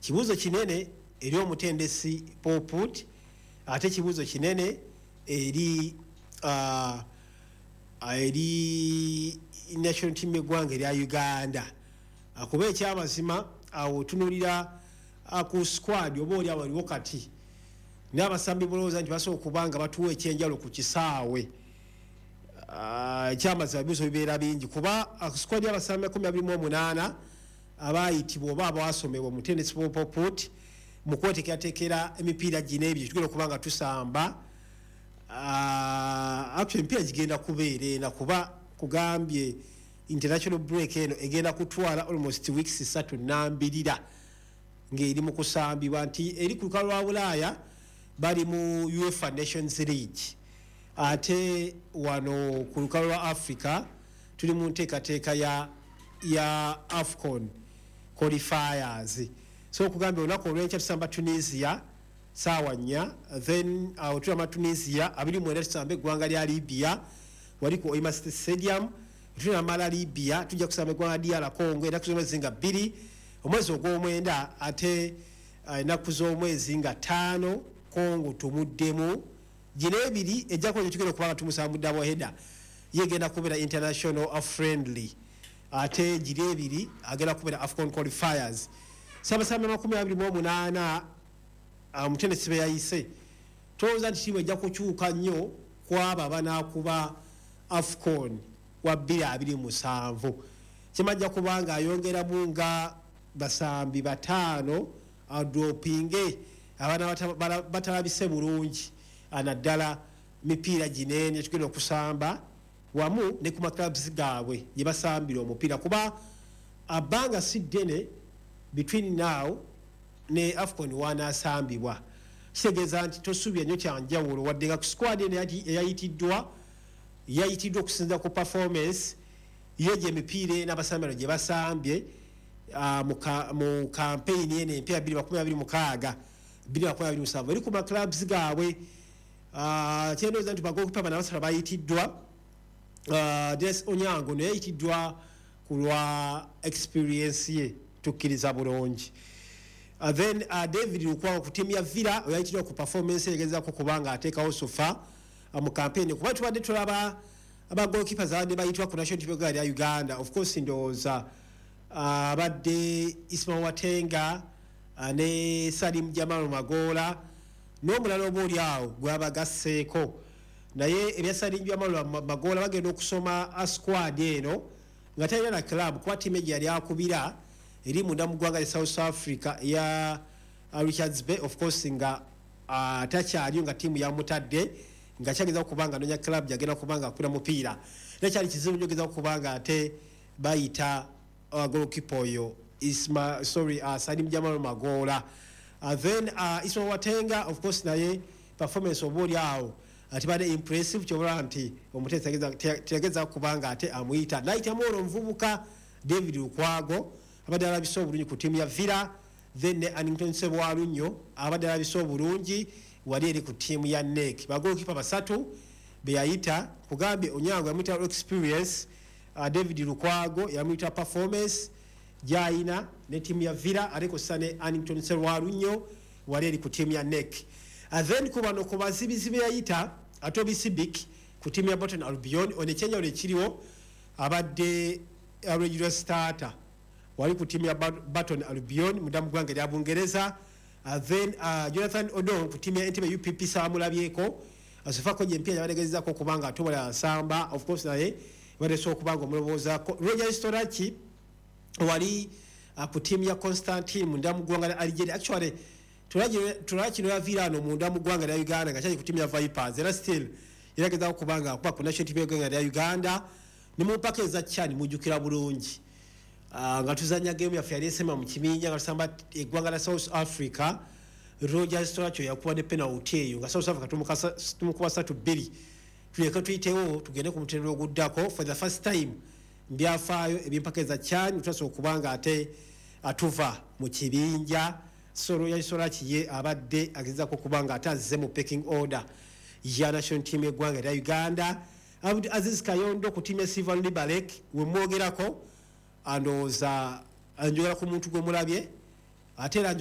Kibuuzo kinene eri omutendesi Paul Put, ate kibuuzo kinene eri national team eggwanga erya Uganda. Kuba ekyamazima awo otunulira ku squad oba oli awo aliwo kati n'abasambi bolowooza nti basobola okuba nga batuwa ekyenjawulo ku kisaawe. Ekyamazima ebibuuzo bibeera bingi, kuba squad y'abasambi 28 abayitibwa oba abasomebwa omutendesi Paul Put mu kweteekerateekera emipiira gino ebyo tugenda okuba nga tusamba. Actually emipiira gigenda kubeera ena, kuba kugambye international break eno egenda kutwala almost weeks 3 nambirira ng'eri mu kusambibwa, nti eri ku lukalu lwa Bulaaya bali mu UEFA Nations League, ate wano ku lukalu lwa Africa tuli mu nteekateeka ya AFCON qualifiers. So okugambye olunaku olwenkya tusamba Tunisia saawa 4, then awo tulama Tunisia, 29 tusamba eggwanga lya Libya wali ku Hoima City Stadium. Tunamala Libya, tujja kusamba eggwanga DR Congo ennaku z'omwezi nga 2 omwezi ogw'omwenda, ate ennaku z'omwezi nga 5 Congo tumuddemu. Gino ebiri ejja kuba tugenda okuba nga tumusamba mu double header, ye egenda kubeera international friendly, ate giri ebiri agenda kubeera AFCON qualifiers. Sabasambi 28 omutendesi be yayise, tolowooza nti tiimu ejja kukyuka nnyo kwabo abanaakuba AFCON wa 2027. Kimajja kubanga ayongeramu nga basambi bataano, adropinge abaana batalabise bulungi, naddala mipiira ginene tugenda okusamba wamu ne ku maclubs gaabwe gye basambira omupiira, kuba abbanga si ddene between now ne AFCON wanaasambibwa. Kitegeeza nti tosuubira nnyo kyanjawulo, wadde nga ku squad eno eyayitiddwa yayitiddwa okusinziira ku performance ye gye emipiira n'abasambi bano gye basambye mu campaign eno empya 2026 2027 eri ku maclubs gaabwe. Kyendowooza nti bagoalkeeper bano abasatu bayitiddwa, Denis Onyango naye yayitiddwa ku lwa experience ye, tukkiriza bulungi. Then David Lukwago ku tiimu ya Villa oyayitiddwa ku performance egezaako kubanga ateekawo so far mu campaign, kuba tubadde tulaba abagoalkeepers abadde bayitibwa ku national team lya Uganda. Of course ndowooza abadde Ismail Watenga ne Salim Jamal Magoola n'omulala oba oli awo gwebabagasseeko, naye ebya Salim Jamal Magoola bagenda okusoma squad eno nga talina na club, kuba tiimu egyo yali akubira eri munda mu ggwanga lya South Africa eya Richards Bay. Of course nga takyaliyo, nga tiimu yamutadde nga kyageza kuba nga anonya club gyagenda kuba nga akubira mupiira, era kyali kizibu nnyo ogeza kuba nga ate bayita goalkeeper oyo Isma, sorry, Salim Jamal Magoola. Then Isma Watenga of course naye performance oba oli awo atibadde impressive, kyobula nti omuteesi teyageza kuba nga ate amuyita nayitamu olwo omuvubuka David Lukwago abadde alabise obulungi ku ttiimu ya Villa, then ne Annington Sebwalunnyo abadde alabise obulungi wali eri ku ttiimu ya NEC. Bagoalkeeper basatu beyayita. Kugambye Onyango yamuyita experience, David Lukwago yamuyita performance gyayina ne ttiimu ya Villa, ate kossa ne Annington Serwalunnyo wali eri ku ttiimu ya NEC. Then ku bano ku bazibizi beyayita, Atobi Sibik ku ttiimu ya Burton Albion, ono ekyenjawulo ekiriwo abadde regular starter wali ku ttiimu ya Burton Albion munda mu ggwanga erya Bungereza. Then Jonathan Odong ku ttiimu ya Entebbe UPP saamulabyeko asofako gye empiira yabategeezezako okuba nga atobola nsamba, of course naye bateesa okuba nga omulowoozaako. Roger Storaki wali ku ttiimu ya Constantine munda mu ggwanga lya Algeria. Actually Toraki noyaviira ano munda mu ggwanga lya Uganda nga kyali ku ttiimu ya Vipers, era still yeragezaako kuba nga akuba ku national team y'eggwanga lya Uganda ne mu mpaka eza CHAN. Mujjukira bulungi nga tuzanya game yaffe yali esema mu kibinja nga tusamba eggwanga lya South Africa, Roger Storacho yakuba ne penalty eyo nga South Africa tumukuba 3-2, tuleke tuyitewo tugende ku mutendera oguddako for the first time mbyafaayo ebyempaka eza CHAN. Tutasobola okuba nga ate atuva mu kibinja. So Roger Storaki ye abadde agezaako okuba nga ate azze mu pecking order ya national team y'eggwanga erya Uganda. Abdu Aziz Kayondo ku ttiimu ya Silver Liberec wemwogerako, andowooza njogera ku muntu gwe mulabye, ate era njogera